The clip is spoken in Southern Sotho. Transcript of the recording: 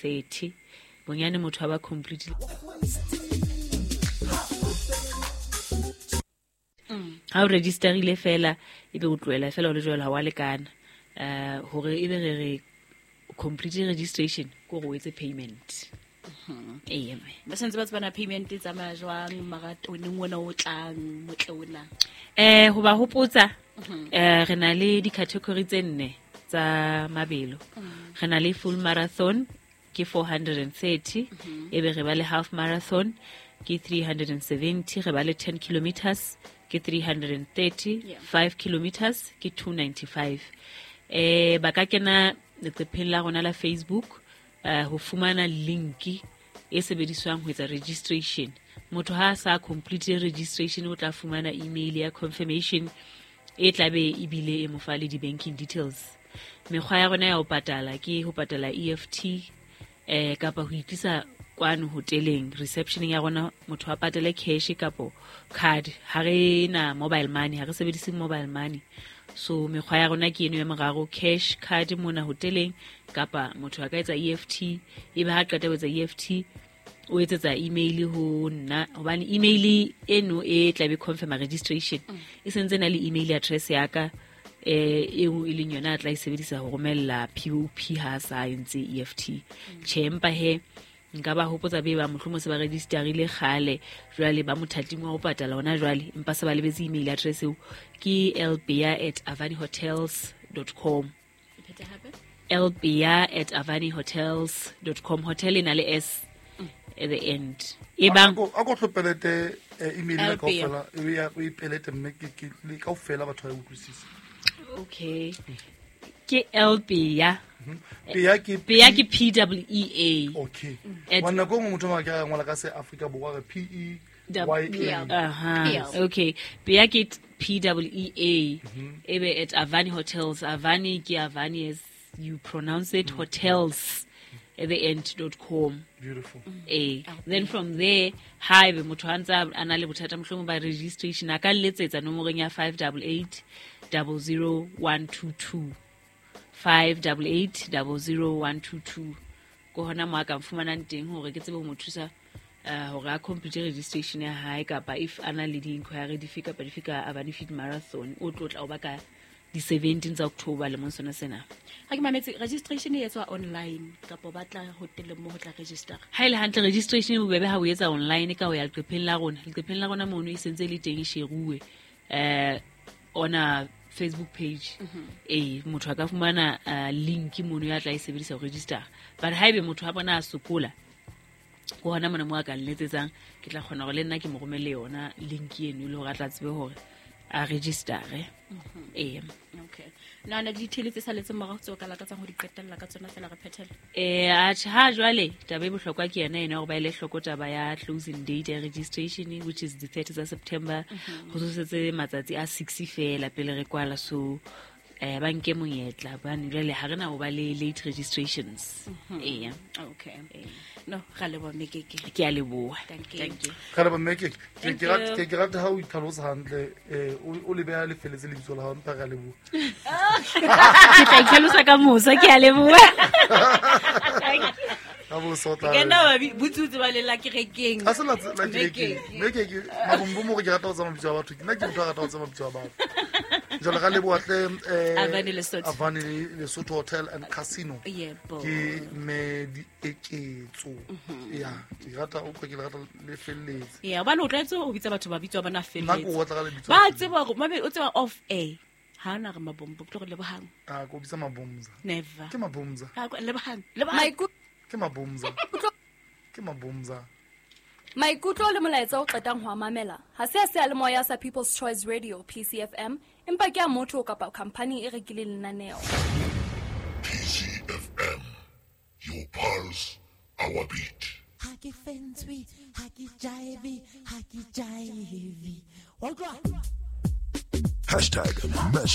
30 bonyane motho a ba complete. Ha o registerile fela ebe o tlohela fela o le jwalo, ha wa lekana. Hore ebe re re complete registration ke hore o etse payment. Ee, mme. Ba santse ba tsebana payment e tsamaya jwang maratoneng ona o tlang motle ona? Ho ba hopotsa, re na le di-category tse nne tsa mabelo. Re na le full marathon ke 430, ebe re ba le half marathon ke 370, re ba le 10 kilometers ke 330, 5 kilometers ke 295. Ba ka kena leqepheng la rona la Facebook ho fumana link e sebediswang ho etsa registration. Motho ha a sa complete registration o tla fumana email ya confirmation e tlabe ebile e mo fa le di-banking details. Mekgwa ya rona ya ho patala ke ho patala EFT kapa ho itlisa kwano hoteleng receptioneng ya rona, motho a patale cash kapo card. Ha re na mobile money, ha re sebedise mobile money. So mekgwa ya rona ke eno ya meraro: cash, card mona hoteleng, kapa motho a ka etsa EFT, ebe ha qeta ho etsa EFT o etsetsa email ho nna, hobane email eno e tlabe confirm registration e sentse na le email address ya ka eo e leng yona a tla e sebedisa ho romella POP ha sa entse EFT. Tjhe, empa he nka ba hopotsa be ba mohlomong se ba registerile kgale, jwale ba mothating wa ho patala hona jwale, empa se ba lebetse email address eo, ke lbea@avanihotels.com. lbea@avanihotels.com. Hotel e na le S at the end. E bang a ko tlopelete email ena kaofela, e ya o ipelete mme ke le kaofela batho ba utlwisise. Okay. Ke lbea. Pea ke Pea ke P W E A. Okay. Wa nako nngwe motho a ka ngola ka se Afrika Borwa re P E Y A. Aha. Okay. Pea ke P W E A. Ebe at Avani Hotels. Avani ke Avani as you pronounce it, hotels at the end dot com. Beautiful. Then from there, ha ebe motho a ntse a na le bothata mohlomong ba registration, a ka letsetsa nomorong ya 588 00 122. 588 00 122. Ko hona mo a ka fumanang teng hore ke tsebe ho mo thusa hore a complete registration ya hae, kapa if a na le di-inquiry dife kapa dife ka Avani Fit Marathon, o tlo tla o ba ka di 17 tsa October lemong sona sena. Ha ke mametse, registration e etswa online kapa ba tla hoteleng mo ho tla register? Ha e le hantle registration e bobebe ha o etsa online ka ho ya leqepheng la rona. Leqepheng la rona mono e sentse e le teng e sheruwe ona Facebook page. Motho a ka fumana link mono ya tla e sebedisa ho register. But haebe motho a bona a sokola, ko hona mona mo a ka nletsetsang, ke tla kgona hore le nna ke mo romelle yona link eno e le hore a tla tsebe hore a register-e. Okay. Na na di-details tse saletseng morao tseo ka lakatsang ho di qetella ka tsona fela re phethele? Atjhe, ha jwale taba e bohlokwa ke yona ena hore ba ele hloko taba ya closing date ya registration, which is the 30 tsa September. Ho sosetse matsatsi a 6 fela pele re kwala, so ba nke monyetla hobane jwale ha re na ho ba le late registrations. Okay. No, ra leboha Mekeke. Ke a leboha. Thank you. Thank you. Ra leboha Mekeke. Thank Ke you. ke rata ha o itlhalosa hantle, o le beha lefeletse lebitso la hao, empa re a leboha. Ke tla itlhalosa ka mosa, ke a leboha. Ka mosa o tla Ke nna ba botsotsi ba le la kerekeng. Ha se la kerekeng. Mekeke. Mekeke, mabombo mo ke rata ho tsamaya mabitso a batho. Nna ke motho a ratang ho tsamaya mabitso a batho. Jwale ra leboha hle, Avani Lesotho. Avani Lesotho Hotel and Casino. Yebo. Ke mme Dieketso. Ya, ke rata o ke rata le felletse. Ya, hobane o tlwaetse ho bitsa batho ba bitso ba bona Nna ke felletse. o batla ka lebitso. Ba tseba hore mabe o tseba off air. Ha na re mabombo, ke tlo re lebohang. Ah, ko bitsa mabomza. Never. Ke mabomza. Ha, lebohang, lebohang. Ke mabomza. Ke mabomza. Maikutlo le molaetsa o qetang ho a mamela ha se a seyalemoya sa People's Choice Radio PCFM, empa ke a motho kapa khampani e rekileng lenaneo. PCFM, your pulse, our beat. Ha ke fentswe, ha ke jive, ha ke jive. Wa utlwa? Hashtag mesh.